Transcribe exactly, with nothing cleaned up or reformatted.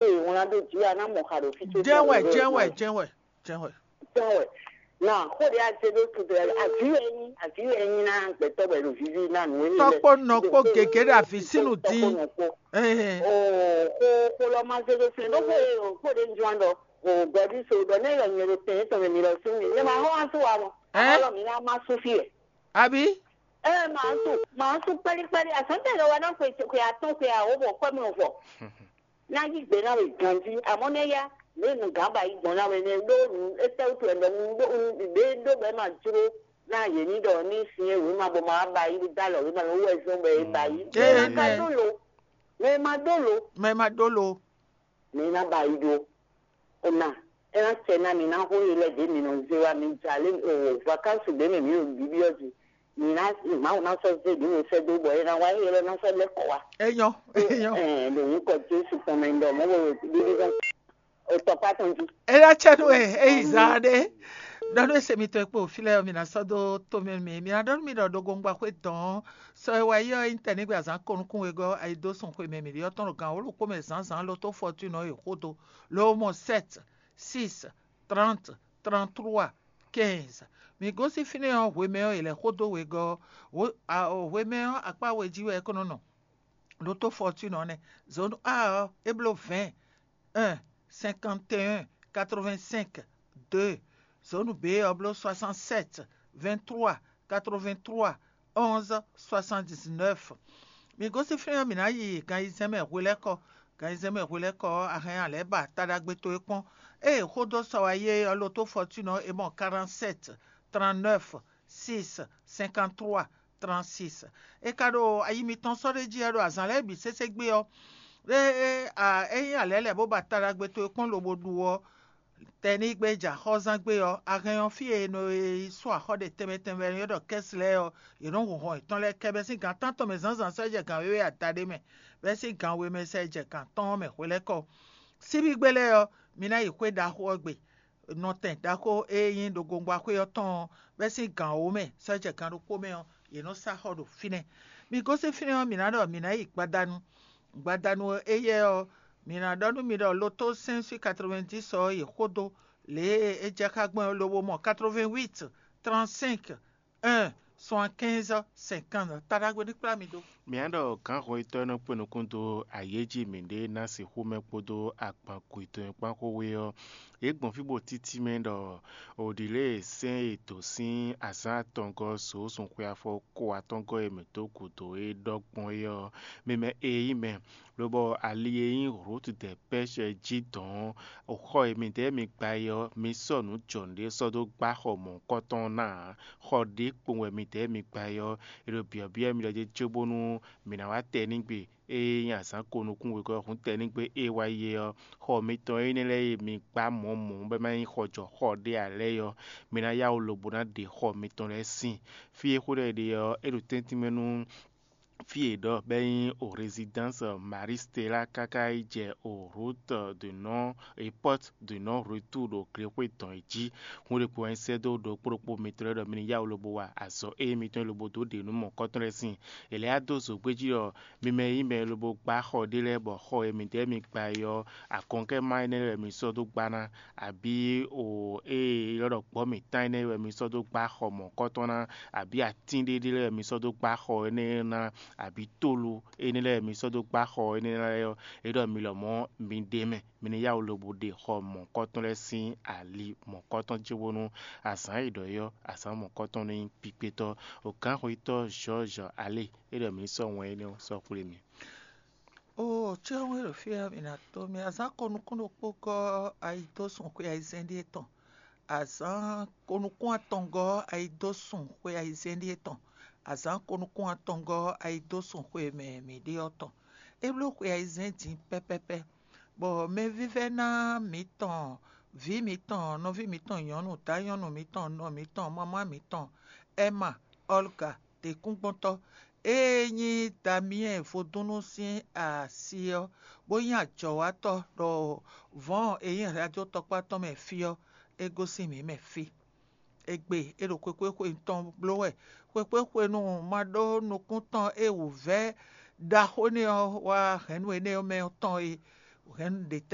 Ee, wlán ɖó jǐ a ná mɔ xa ɖo fí ce. Jɛ́n wɛ, jɛ́n wɛ, jɛ́n wɛ, jɛ́n wɛ. Jɛ́n wɛ. Na xó ɖé a zé ɖó tu ɖe, aví wɛ nyí, aví wɛ nyí ná gbɛtɔ́ wɛ ɖo vivi ná nǔ e. Tɔkpó nɔ kpó gěgé ɖo avi sínu dín. Ɛhɛn. O xó xó lɔ ma zé ɖó fɛn ɖó xó e o xó ɖé njuan ɖɔ o gbɛɖu so ɖɔ ne yɔ nyɛ ɖo tɛn etɔn mɛ mi lɔ sún mi. Nyɛ ma xɔ wá sú wa mɔ. Ɛhɛn. Alɔ mi ná ma sú fí wɛ. Abi? Ɛ ma sú ma sú kpɛ́lí kpɛ́lí asɔntɛ lɔ wa ná xwe xwe atɔn xwe awo bɔ kɔ́ mi vɔ. Na yí gbe ná we ganjí, amɔ̌ nɛ́ yá, lě e nǔgán ba yí gbɔn ná we nɛ́ ɖó nǔ étɛ́ wútu wɛ ɖɔ nǔ ɖé ɖó bɔ é ma jló ná yě ní ɖɔ ní sin e wěma bɔ ma wá ba yí dó alɔ wěma lɔ wú wɛ zɔ́n bɔ é ba yí. Mɛ ma ka ɖó lo, mɛ ma ɖó lo, Mɛ ma ɖó lo. Mɛ ná ba yí ɖó. Ona, é ná sɛ ná mi ná xó yi lɛ ɖě mi nɔ zé wá mi jà lé o vakansi ɖě mɛ mi ɖo bíbí ɔ́ jí. Mi ná Mawu ná sɔ́ zé ɖě mi sɛ́ dó bɔ é ná wá é lɔ ná sɔ́ lɛ́ kɔ wá. Enyɔ, enyɔ. Ɛɛ, ɖo nyǐkɔ Jesu tɔn mɛ ɖɔ mɔ̌ bo ɖiɖi zɔn o tɔkpá tɔn jí. Eya cɛ nú ɛ eyi zaa ɖe. Ɖɔ nú ese mitɔn kpo fí lɛ mi ná sɔ́ dó to mɛ mi mi ná ɖɔ nú mi ɖɔ ɖo gongba xwé dɔn. Sɔ e wá yi ɔ́ nyí tɛnɛ́gbe azǎn ko nukún wegɔ́ ayi dó sun xwe mɛ mi ɖi ɔ́ tɔn ɖo gan wǒ ɖokpó mɛ zǎnzǎn lo tó fɔtúnɔ e xó dó. Lo mɔ sɛt, sis, trant, trant trua, kɛnz. Mi gosín fínɛ́ ɔ́ hwemɛ ɔ́ è lɛ̌ xó dó wegɔ́ ɔ́. Hwemɛ ɔ́ akpá we jí wɛ é ko nɔ nɔ. Ɖótó fɔtúnɔ nɛ́. Zǒnu A ɔ́ é bló vɛ̌ɛn, un, cinquante et un, quatre-vingt-cinq, deux. Zǒnu B ɔ́ bló soixante-sept, vingt-trois, quatre-vingt-trois, onze, soixante-dix-neuf. Mi gosín fínɛ́ ɔ́, mǐ ná yi gan ayizɛ́n mɛ hwelɛ́kɔ. Gan ayizɛ́n mɛ hwelɛ́kɔ ɔ́, a hɛn a lɛ̌ ba taɖagbe towe kpɔ́n. Ée xó dó sɔ wá yi é ɔ́, lo tó fɔtúnɔ é mɔ quarante-sept, trente-neuf, six, cinquante-trois, trente-six. É ka ɖo ayi mitɔn sɔ́ ɖ'é jí ɔ́, ɖo azǎn lɛ́ɛ bǐ sésé gbe ɔ́, é é a é nyí alɛ̌ lɛ̌ bó ba taɖagbe towe kpɔ́n lobo ɖu ɔ́, tɛnígbe jɛ axɔ́zán gbe ɔ́, a hɛn ɔ́ fí e è nɔ yi sú axɔ́ ɖe tɛnmɛ tɛnmɛ e è nɔ ylɔ́ ɖɔ kɛ́si lɛ́ɛ ɔ́, yě nɔ́ hun hɔn yětɔn lɛ́ɛ kɛ bɛ́ sín gan tántɔn mɛ zǎnzǎn sɔ́ jɛ gan wěwe adaɖé mɛ, bɛ́ sín gan we mɛ sɛ jɛ gan tɔn ɔ́ mɛ hwelɛ́kɔ. Síbígbe lɛ́ɛ ɔ́, mi ná yi xwé ɖaxó ɔ́ gbe. Nɔtɛn ɖaxó e nyí ɖo gongba xwé ɔ́ tɔn ɔ́, bɛ́ sín gan wǒ mɛ sɔ́ jɛ gan ɖokpó mɛ ɔ́, yě nɔ sá xɔ ɖo fínɛ́. Mi gosín fínɛ́ ɔ́, mǐ ná ɖɔ mǐ ná yi gbadanu. Gbadanu éyɛ́ ɔ́, mǐ ná ɖɔ nú mi ɖɔ lo tó sɛ́n sín quatre-vingt-dix ɔ́ yi xó dó lě e é jɛ xá gbɔn é lobo mɔ quatre-vingt-huit, trente-cinq, un, soixante-quinze, cinquante. Taɖagbe ní kplá mi dó. Mǐ á ɖɔ gǎnhɔn yětɔn e nɔ kpé nukún dó ayě jí mǐɖée ná sixú mɛ kpódó agban gǔ yětɔn e kpán xó we ɔ́, yě gbɔn fí bó títí mɛ ɖɔ òɖǐlé sɛ́n e dǒ sín azǎn atɔngɔ́ sǒ sun xwe afɔ ko atɔngɔ́ e mǐ dó gǔdo é ɖɔ gbɔn é ɔ́, mi mɛ e nyí mɛ, lobɔ ali e nyí Rut dɛ Pɛ́sɛ jí dɔn ɔ́, xɔ e midɛɛ mi gba é ɔ́, mi sɔ́ nǔ jɔnǔɖé sɔ́ dó gbá xɔ mɔ̌hunkɔtɔn ɔ́ ná ǎ. Xɔ ɖě kpowun wɛ midɛɛ mi gba é ɔ́, è ɖo byɔ̌byɔ́ mi ɖɔ jɛ cóbónú mǐ ná wá tɛnígbe e nyí azǎn ko nukún wegɔ́ hǔn tɛnígbe e wá yi é ɔ́, xɔ mitɔn énɛ́ lɛ́ɛ e mi gbá mɔ̌ mɔ̌ bɔ é ma nyí xɔjɔxɔ ɖé ǎ lɛ́ɛ é ɔ́, mi ná yá wǔ lobo ná ɖe xɔ mitɔn lɛ́ɛ sín. Fí e xó ɖɔ è ɖe ɔ́, é ɖo tɛ́ntin mɛ nú fí e ɖɔ bɔ é nyí o résidence Marie Stella káká yi jɛ o route de non e porte de non retour ɖo glexwé dɔn e jí. Hǔn ɖokpó wɛ nyí sɛ́ dó ɖokpó ɖokpó mitɔn lɛ́ɛ ɖɔ mi ní yá wǔ lobo wa azɔ̌ e mitɔn e lobo dó ɖe nú mɔ̌kɔtɔn lɛ́ɛ sín. È lɛ́ yá dó zǒgbé jí ɖɔ mi mɛ e nyí mɛ e lobo gbá xɔ ɖé lɛ́ɛ bɔ xɔ e midɛɛ mi gba é ɔ́, akɔnkɛ́ má énɛ́ lɛ́ɛ wɛ mi sɔ́ dó gbá ná, abǐ o ée è ylɔ́ ɖɔ gbɔ̌ mǐtán énɛ́ wɛ mi sɔ́ dó gbá xɔ mɔ̌kɔtɔn ná, abǐ atín ɖé ɖé lɛ́ɛ wɛ mi sɔ́ dó gbá xɔ énɛ́ ná, abǐ tólu énɛ́ lɛ́ɛ wɛ mi sɔ́ dó gbá xɔ énɛ́ lɛ́ɛ ɔ́, é ɖɔ mi lɔmɔ̌ mi ɖ'é mɛ, mi ní yá wǔ lobo ɖe xɔ mɔ̌kɔtɔn lɛ́ɛ sín ali mɔ̌kɔtɔn cóbónú azǎn e ɖɔ é ɔ́, azǎn mɔ̌kɔtɔn ní nyí kpíkpétɔ́. Gǎnxwetɔ́ Georges Allé é ɖɔ mi ní sɔ́ wɛn énɛ́ ɔ́ sɔ́ xwlé mi. Oo, cyɔ́nwé ɖo fí ɔ́, mǐ ná tó mì azǎn ko nukún ɖokpó gɔ́ ayi dó sun xwe ayizɛ́n ɖíe tɔn. Azǎn ko nukún atɔngɔ́ ayi dó sun xwe ayizɛ́n ɖíe tɔn. Azǎn ko nukún atɔngɔ́ ayi dó sun xwe mɛ mǐ ɖe ɔ́ tɔn. É bló xwe ayizɛ́n din pɛ́pɛ́pɛ́, bɔ mɛvívɛ́ná mǐtɔn, vǐ mǐtɔn, nɔví mǐtɔn nyɔ̌nu, dǎ nyɔ̌nu mǐtɔn, nɔ mǐtɔn, mamá mǐtɔn, Ɛma, Ɔlga, ɖěkúngbɔ́ntɔ́, ée nyí Damiyɛ́ɛ vodúnnú sín asi ɔ́, bó nyí ajɔ̌watɔ́ ɖo vɔ̌ɔn e nyí radio tɔkpá tɔn mɛ fí ɔ́, é gosín mǐ mɛ fí. Égbé é ɖo xwekpéxwe tɔn bló wɛ. Xwekpéxwenu ma ɖó nukún tɔn e wǔvɛ́ ɖaxó énɛ́ ɔ́ wá hɛ̌nnu énɛ́ ɔ́ mɛ ɔ́ tɔn é. Hɛn nǔ ɖe